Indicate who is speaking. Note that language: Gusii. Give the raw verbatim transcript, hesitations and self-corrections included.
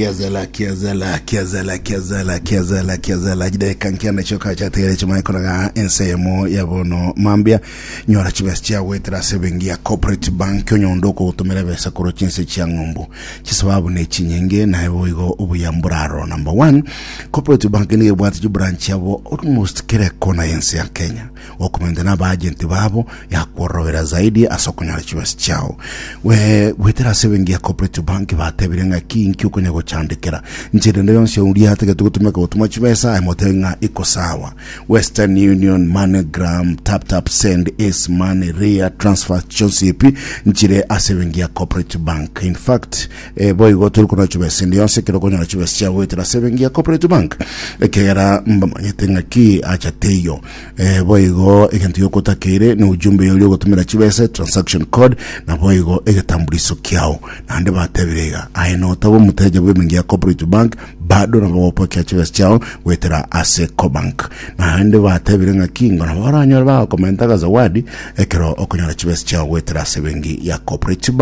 Speaker 1: Kiazala, kiazala, kiazala, kiazala, kiazala, kiazala. Jideka nkianda choka chategere chimaikoraga ensemo ya bono mambia. Nyora chibesa chiagwetera ase bengi ya Cooperative Bank onyondo okogotomera besa korwa chinse chia ng'umbu. Chisababu ne chinyinge naye boigo obuya mboraro. Number one, Cooperative Bank nigo ebwate chibranch yabo almost kera kona yense ya Kenya. Okomenta na abaagenti babo yakworobera zaidi ase okonyora chibesa chiao. We gwetera ase bengi ya Cooperative Bank batebire ng'aki inki okonya gochandekera. Nchera yonsi oria atagete gotumeka gotuma chibesa aye motebe ng'a iko sawa. Western Union, MoneyGram, Tap Tap Send, Ace Money, Ria, Transfer chionsi epi nchire ase bengi ya Cooperative Bank. In fact, eh, boigo turi konyora chibesa ende yonsi ekero okonyora chibesa chiao goetera ase bengi ya Cooperative Bank ekegera mbamanyete ng'aki acha teiyo. Eh, boigo egento giokotakeire ni ujumbe yori ogotumira chibesa transaction code na boigo egetambuliso kiao naende batebire iga aye notaba omoteja bwa ebenki ya Cooperative Bank bado nabo gopokia chibesa chiao goetera ase Cobank naende batebire ng'aki ngo nabo baranyore bagokomenta zawadi ekero okonyora chibesa chiao goetera ase ebenki ya Cooperative Bank.